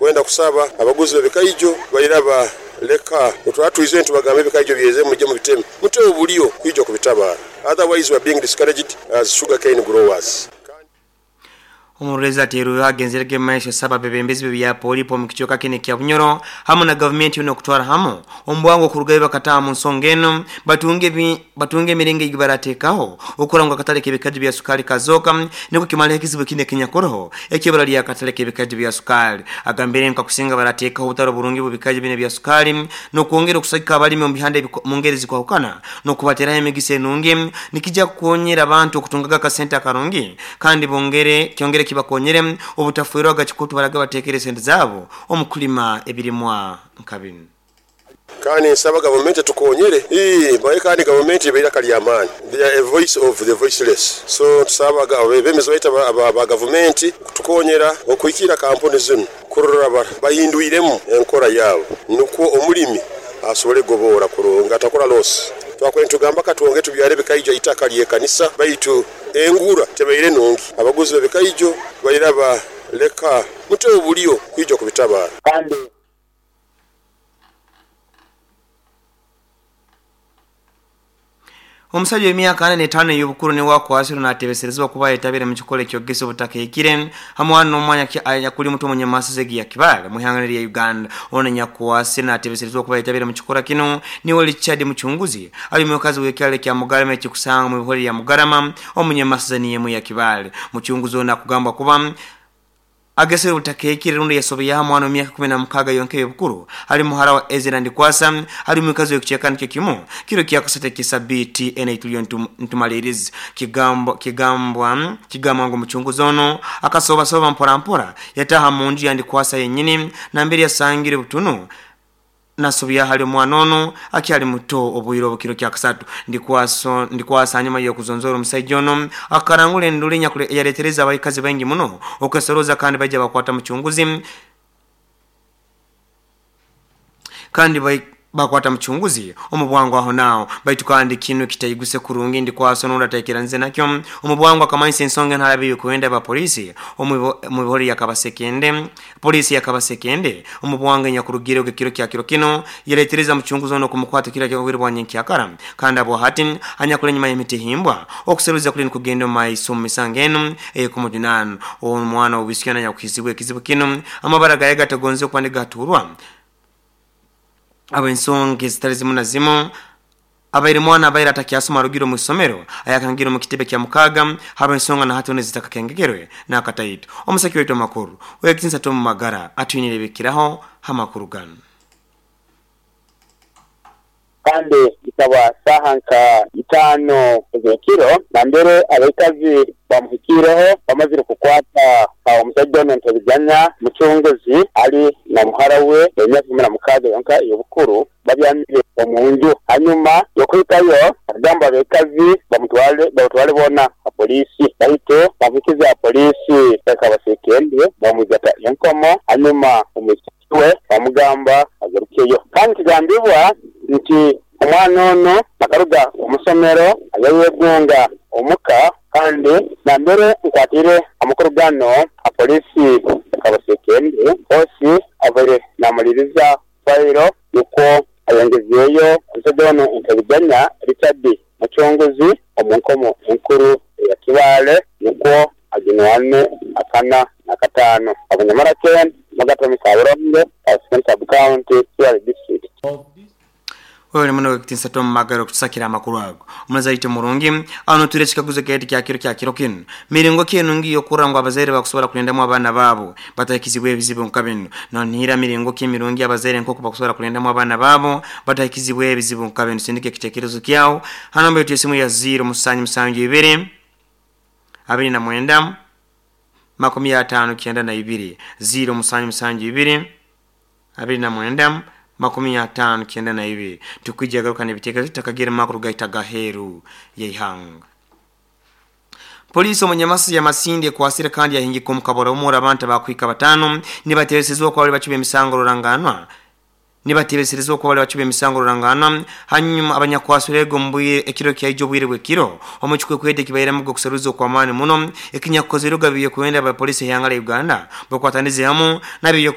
Kwenda kusaba abaguzi b'ebikaijo bairaba leka otwatwize ntubagamba ebikaijo byeze mujje mubiteme muteho bulyo kwija okubitabara. Otherwise we are being discouraged as sugarcane growers. Omurorezi ateerweho agenzerege mumaiso asaba abebembezi b'ebya polipo omu kicweka kinu ekya Bunyoro hamu na gavumenti yoona okutwara hamu omu bwangu okurugayo bakataaha mu nsonga enu batunge emiringo ei barateekaho okurora ngu akatale k'ebikaju bya sukaali kazooka nukwo kimaleho ekizibu kinu ekinyakuroho eky'ibura ly'akatale k'ebikaju bya sukaali. Agambire ngu kakusinga barateekaho obutale oburungi bw'ebikaju binu ebya sukaali n'okwongera okusagika abalimi omu bihanda mu ngeri ezikwahukana n'okubateeraho emigisa enungi nikija kukonyera abantu okutungaga akasente akarungi kandi bongere kyongere kibakonyere obutafwerwaga kikutu baraga bateekere sente zaabo omu kulima ebirimwa nka binu. Kandi nsaba gavumenti etukonyere. Ii, Mbaye kandi gavumenti eba eiraka lya maani, they are a voice of the voiceless. So tusaba abebembezi baitu aba gavumenti kutukonyera okuhikiira kampuni zinu kurora bahindwiremu enkora yaabo nukwo omulimi asobole kugoboora kurungi atakora loss. Twakubaire nitugamba katwongere tubyare ebikaijo aha itaka ly'ekanisa baitu engura tebaire nungi. Abaguzi b'ebikaijo bairaba leka muteho bulyo kwija kubitabara. Omusajja w'emyaka 45 ey'obukuru niwe akwasirwe naatebeserezibwa kuba ayetabire mu kikolo ekyogesa obutakahikire hamwe n'omwanya anyakuli muto omunyamasizi egi ya Kibaale mu ihanga lya Uganda. Ono nyakwasire naatebeserezibwa kuba ayetabire mu kikora kinu niwe Richard Muchunguzi ali mukazi w'ekyalo kya Mugarama ekikusanga mu bihore lya Mugarama omunyamasizi niyemu ya Kibaale. Muchunguzi ono akugambwa kuba agesere obutakahikire rundi yasobeyaho mwana w'emyaka 16 yonka ey'obukuru ali muhara wa Ezra Ndikwasa ali mukazi w'ekicweka nikyo kimu kiro kya kasatu ekisabiti ena tuliyo ntumaliriza. Kigambwa ngu omuchunguzi ono akasobasoba mpora mpora yataha mu nju ya Ndikwasa yenyini nambere yasangire butunu nasobya hali omwana ono akyali muto obwire obukiro kya kasatu. Ndikwasa hanyuma y'okuzonzora omusaija ono akarangura enduru eyaretereza abaikazi baingi muno okwesoroza kandi baija bakwata muchunguzi kandi bakwata muchunguzi omu bwangu aho naaho. Baitu kandi kinu kitaiguse kurungi Ndikwasa onundi ataikiranize nakyo omu bwangu akamanyisa ensonga entarabi y'okwenda aba polisi omu bihore ya Kabasekende. Polisi ya Kabasekende omu bwangu enyakurugire ekiro kya kiro kino yaretereza muchunguzi ono kumukwata kiro kyobwire bwa nyenkyakara kandi abo hati anyakula enyuma y'emitihimbwa okuseruza kuli nikugenda omu maiso omu misango enu ey'okumujunana. Omwana w'obwisuki anyakuhizibwa ekizibu kinu amabara gaye gatagonze okuba nigaturwa ab'ensonga ezitali zimu na zimu abaire mwana abaire atakyasoma arugire omu isomero ayakangire omu kitebe kya mukaaga habw'ensonga na hati zitakakengekerwe n'akataito. Omusaki waitu amakuru wekitinsa Tom Magara atwinire ebikiraho hamakuru ganu. Kandi ikaba saaha nka 5 ez'ekiro nambere abaikazi bamuhikiireho bamazire kukwata omusajja ono Ntebiganya Muchunguzi ali na muhara we emyaka 16 yonka ey'obukuru babyamire omu nju. Hanyuma y'okuhikayo akagamba abaikazi bamutwale boona ha polisi, baitu bamuhikize ha polisi ekabasekende bamwigata enkomo. Hanyuma omwisiki we bamugamba agarukeyo. Kandi kigambibwa nti omwana ono akaruga omusomero ayayegunga omuka kandi nambere nkwatire amakuru gano ha polisi ekabasekende hosi abaire namaliriza fairo nukwo ayongezeeyo omusajja ono Ntebiganya Richard Muchunguzi omu nkomo enkuru eya Kibaale nukwo ajunwane akana na katano. Abanyamara Ken Magatomi Kaburongo, Kabasekende Sub County, Kibaale District. Wewe muno wekitinsa Tom Magara okutusakira amakuru ago. Omuzaite murungi ano ture kikaguzo keti kya kiro kya kiro kinu. Miringo ki enungi y'okurora ngu abazaire bakusobola kulindamu abaana baabo batahikizibwa ebizibu nka binu. Nonihira miringo ki emirungi abazaire nk'oku bakusobola kulindamu abaana baabo batahikizibwa ebizibu nka binu. Sindika ekitekerezo kyawo ha namba yetu y'esimu ya 0 7 7 29 59 0 7 7 29 59 tukwijja garuka n'ebitekerezo tutakagira makuru gaita gaheru y'eihanga. Polisi omunyamasi ya Masindi ekwasire kandi yahingika omukabora omura abantu abakwika batano nibateresezwa okuba bali bacuba emisango ruranganwa nibatebeserezwa okuba bali bacuba emisango ruranganwa hanyuma abanyakwasirego mbwire ekiro kyaijo obwire bw'ekiro omu kikwekwete kibairemu okuseruza okw'amaani muno ekinyakukozerwe gabiye kwenda abapolisi ehanga lya Uganda bakwatanize hamu nabyo.